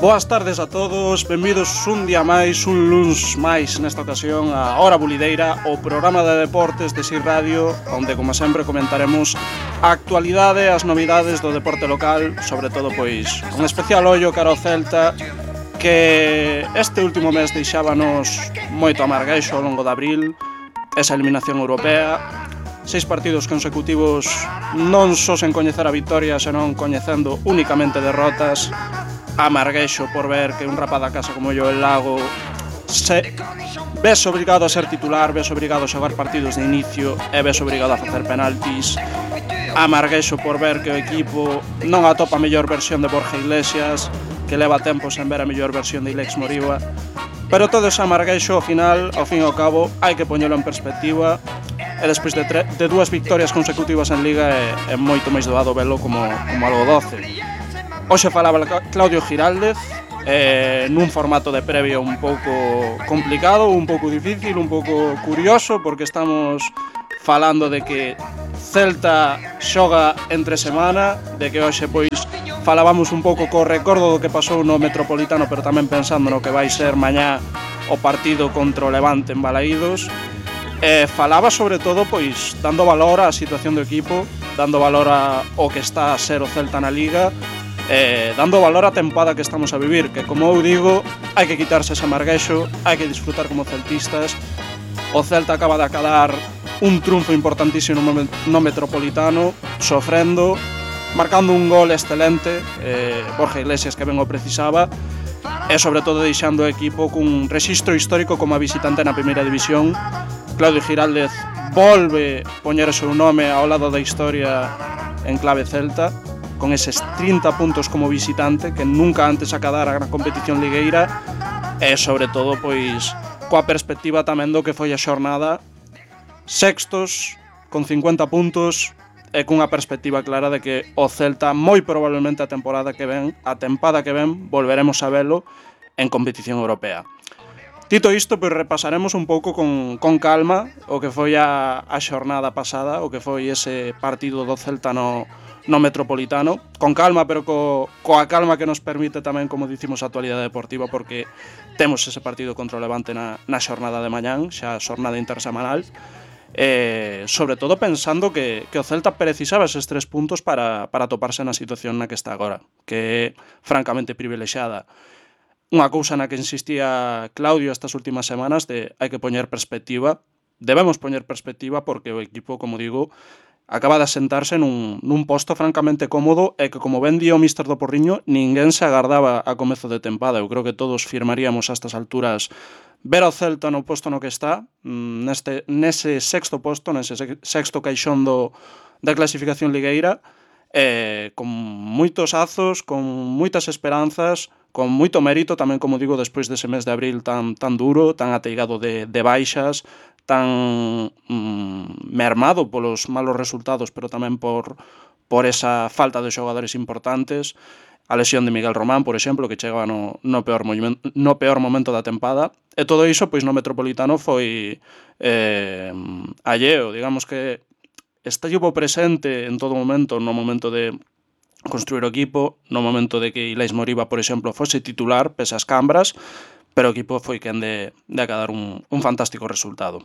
Boas tardes a todos, benvidos un día máis, un luns máis nesta ocasión a Hora Bulideira, o programa de deportes de SIR Radio, onde como sempre comentaremos a actualidade, as novidades do deporte local, sobre todo pois con especial ollo cara ao Celta, que este último mes deixábanos moito amargueixo ao longo de abril, esa eliminación europea, 6 partidos consecutivos non só sen coñecer a victoria, senón coñecendo únicamente derrotas. Amargueixo por ver que un rapaz da casa como Joel Lago se ves obrigado a ser titular, ves obrigado a xogar partidos de inicio e ves obrigado a facer penaltis. Amargueixo por ver que o equipo non atopa a mellor versión de Borja Iglesias, que leva tempo sen ver a mellor versión de Ilex Moriba. Pero todo ese amargueixo, ao final, ao fin e ao cabo, hai que poñelo en perspectiva, e despois de 2 victorias consecutivas en Liga é moito máis doado velo como algo doce. Hoxe falaba Claudio Giraldez nun formato de previa un pouco complicado, un pouco difícil, un pouco curioso, porque estamos falando de que Celta xoga entre semana, de que hoxe pois falábamos un pouco co recordo do que pasou no Metropolitano, pero tamén pensando no que vai ser mañá o partido contra o Levante en Balaídos. Falaba sobre todo pois dando valor á situación do equipo, dando valor ao que está a ser o Celta na Liga, dando valor á tempada que estamos a vivir, que como eu digo, hai que quitarse ese amarguexo, hai que disfrutar como celtistas. O Celta acaba de acadar un triunfo importantísimo no Metropolitano, sofrendo, marcando un gol excelente, Borja Iglesias que ben o precisaba, e sobre todo deixando o equipo cun rexistro histórico como a visitante na primeira división. Claudio Giraldez volve poñer o seu nome ao lado da historia en clave celta, con eses 30 puntos como visitante que nunca antes acadara na competición ligueira, e sobre todo pois coa perspectiva tamén do que foi a xornada, sextos con 50 puntos e cunha perspectiva clara de que o Celta moi probablemente a tempada que ven volveremos a velo en competición europea. Dito isto, pois repasaremos un pouco con calma o que foi a xornada pasada, o que foi ese partido do Celta no Metropolitano, con calma, pero coa calma que nos permite tamén, como dicimos, a actualidade deportiva, porque temos ese partido contra o Levante na xornada de mañán, xa a xornada intersemanal, sobre todo pensando que o Celta precisaba eses 3 puntos para toparse na situación na que está agora, que é francamente privilexiada. Unha cousa na que insistía Claudio estas últimas semanas de hai que poñer perspectiva, debemos poñer perspectiva porque o equipo, como digo, acaba de asentarse nun posto francamente cómodo e que, como ben di o míster do Porriño, ninguén se agardaba a comezo de tempada. Eu creo que todos firmaríamos a estas alturas ver ao Celta no posto no que está, nese sexto posto, nese sexto caixón da clasificación ligueira, con moitos azos, con moitas esperanzas, con moito mérito tamén, como digo, despois dese mes de abril tan duro, tan ateigado de baixas, tan mermado polos malos resultados, pero tamén por esa falta de xogadores importantes, a lesión de Miguel Román, por exemplo, que chegaba no peor momento da tempada, e todo iso pois no Metropolitano foi alleo, digamos que estivo presente en todo momento, no momento de construir o equipo, no momento de que Ilex Moriba, por exemplo, fose titular pese as cambras, pero o equipo foi quen de acadar un fantástico resultado.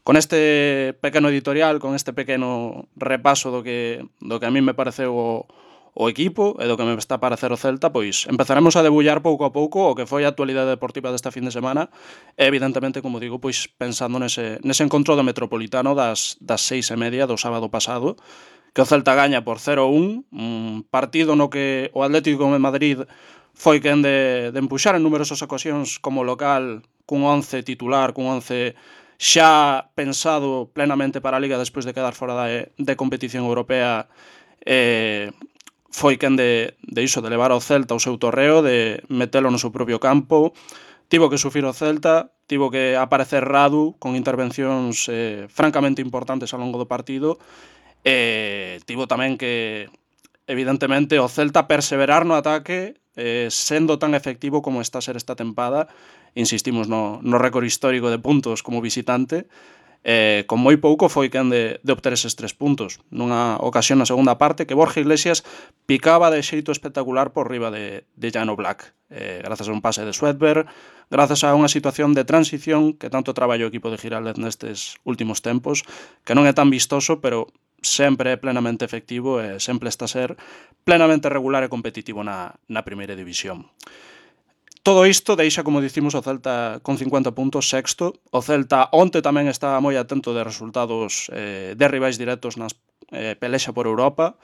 Con este pequeno editorial, con este pequeno repaso do que a mí me pareceu o equipo e do que me está a parecer o Celta, pois empezaremos a debullar pouco a pouco o que foi a actualidade deportiva desta fin de semana e evidentemente, como digo, pois pensando nese encontro do Metropolitano das 6:30 do sábado pasado, que o Celta gaña por 0-1, un partido no que o Atlético de Madrid foi quen de empuxar en numerosas ocasións como local cun 11 titular, cun 11 xa pensado plenamente para a Liga despois de quedar fora de competición europea, foi quen de levar ao Celta ao seu torreo, de metelo no seu propio campo. Tivo que sufrir o Celta, tivo que aparecer Radu con intervencións francamente importantes ao longo do partido, tivo tamén que, evidentemente, o Celta perseverar no ataque, sendo tan efectivo como está a ser esta tempada. Insistimos no récord histórico de puntos como visitante, con moi pouco foi quen de obter eses 3 puntos nunha ocasión na segunda parte que Borja Iglesias picaba de xeito espectacular por riba de Llano Black, grazas a un pase de Swedberg, grazas a unha situación de transición que tanto traballou o equipo de Giraldez nestes últimos tempos, que non é tan vistoso, pero sempre é plenamente efectivo e sempre está a ser plenamente regular e competitivo na primeira división. Todo isto deixa, como dicimos, o Celta con 50 puntos, sexto. O Celta onte tamén está moi atento de resultados de rivais directos nas pelexa por Europa,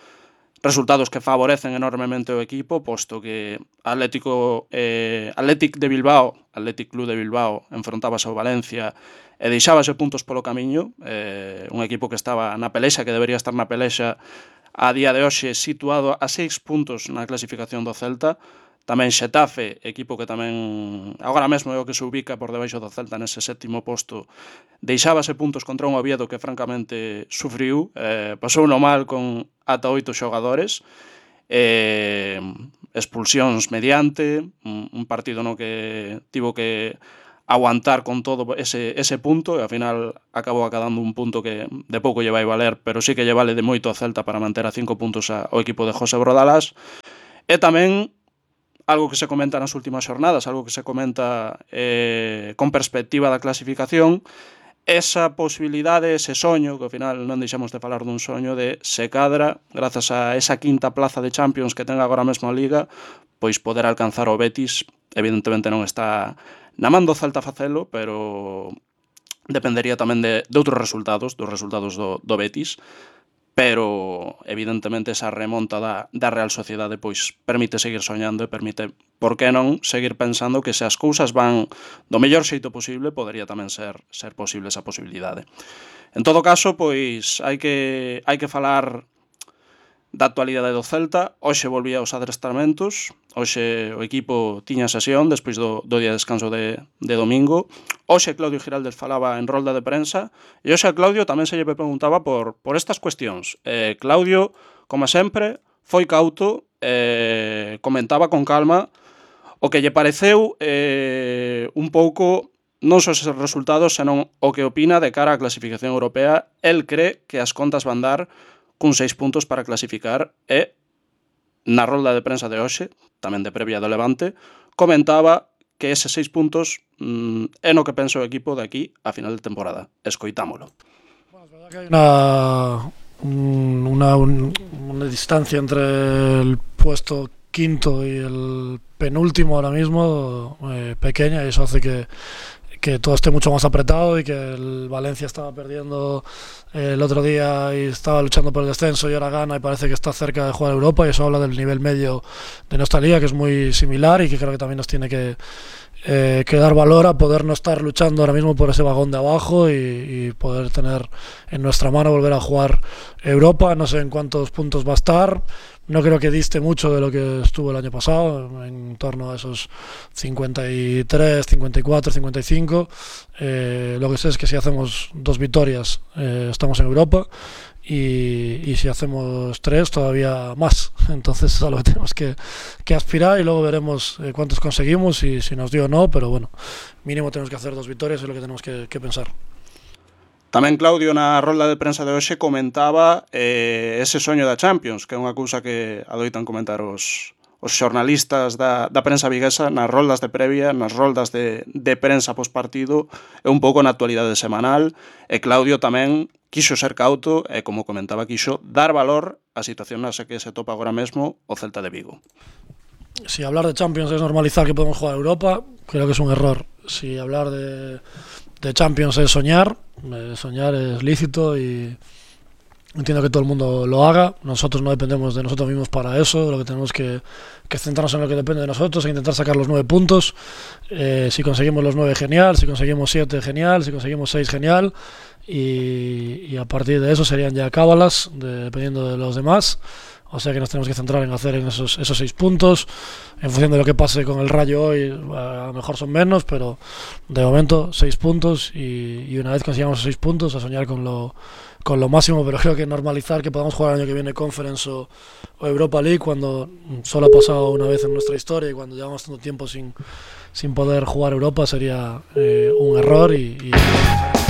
resultados que favorecen enormemente o equipo, posto que Athletic Club de Bilbao enfrontábase ao Valencia e deixábase puntos polo camiño, un equipo que estaba na pelexa, que debería estar na pelexa a día de hoxe situado a 6 puntos na clasificación do Celta. Tamén Xetafe, equipo que tamén agora mesmo é o que se ubica por debaixo do Celta nese sétimo posto, deixábase puntos contra un Oviedo que francamente sufriu, pasou no mal con ata 8 xogadores, expulsións mediante, un partido no que tivo que aguantar con todo ese punto e ao final acabou acadando un punto que de pouco lle vai valer, pero sí que lle vale de moito a Celta para manter a 5 puntos ao equipo de José Brodalás. E tamén algo que se comenta nas últimas xornadas, algo que se comenta con perspectiva da clasificación, esa posibilidade, ese soño, que ao final non deixamos de falar dun soño, de se cadra, grazas a esa quinta plaza de Champions que ten agora mesmo a Liga, pois poder alcanzar o Betis. Evidentemente non está na man do Celta facelo, pero dependería tamén de outros resultados, dos resultados do Betis, pero evidentemente esa remonta da Real Sociedade pois permite seguir soñando e permite, por que non, seguir pensando que se as cousas van do mellor xeito posible, podería tamén ser posible esa posibilidade. En todo caso, pois hai que falar da actualidade do Celta. Hoxe volvía aos adestramentos, hoxe o equipo tiña sesión despois do día de descanso de domingo. Hoxe Claudio Giraldez falaba en rolda de prensa e hoxe a Claudio tamén se lle preguntaba por estas cuestións. Claudio, como sempre, foi cauto, comentaba con calma o que lle pareceu un pouco non só eses resultados, senón o que opina de cara á clasificación europea. El cree que as contas van dar cun 6 puntos para clasificar e na rolda de prensa de hoxe, tamén de previa do Levante, comentaba que eses 6 puntos é no que pensa o equipo de aquí a final de temporada. Escoitámolo. Bueno, es verdad que hay una distancia entre el puesto quinto y el penúltimo ahora mismo pequeña, y eso hace que todo esté mucho más apretado y que el Valencia estaba perdiendo el otro día y estaba luchando por el descenso y ahora gana y parece que está cerca de jugar a Europa, y eso habla del nivel medio de nuestra liga, que es muy similar y que creo que también nos tiene que dar valor a poder no estar luchando ahora mismo por ese vagón de abajo y poder tener en nuestra mano volver a jugar Europa. No sé en cuántos puntos va a estar, no creo que diste mucho de lo que estuvo el año pasado, en torno a esos 53, 54, 55. Lo que sé es que si hacemos 2 victorias estamos en Europa, y si hacemos 3 todavía más. Entonces es a lo que tenemos que aspirar, y luego veremos cuántos conseguimos y si nos dio o no, pero bueno, mínimo tenemos que hacer 2 victorias, es lo que tenemos que pensar. Tamén Claudio na rolda de prensa de hoxe comentaba ese soño da Champions, que é unha cousa que adoitan comentar os xornalistas da prensa viguesa nas roldas de previa, nas roldas de prensa pospartido, e un pouco na actualidade semanal. E Claudio tamén quixo ser cauto e, como comentaba, quixo dar valor á situación na que se topa agora mesmo o Celta de Vigo. Si hablar de Champions es normalizar que podemos jugar a Europa, creo que es un error. Si hablar de Champions es soñar es lícito y entiendo que todo el mundo lo haga. Nosotros no dependemos de nosotros mismos para eso, lo que tenemos que centrarnos en lo que depende de nosotros e intentar sacar los 9 puntos. Si conseguimos los 9, genial; si conseguimos 7, genial; si conseguimos 6, genial, y a partir de eso serían ya cábalas dependiendo de los demás. O sea que nos tenemos que centrar en hacer en esos 6 puntos. En función de lo que pase con el Rayo hoy, a lo mejor son menos, pero de momento 6 puntos, y una vez consigamos 6 puntos, a soñar con lo máximo. Pero creo que normalizar que podamos jugar el año que viene Conference o Europa League, cuando solo ha pasado una vez en nuestra historia y cuando llevamos tanto tiempo sin poder jugar Europa, sería un error, y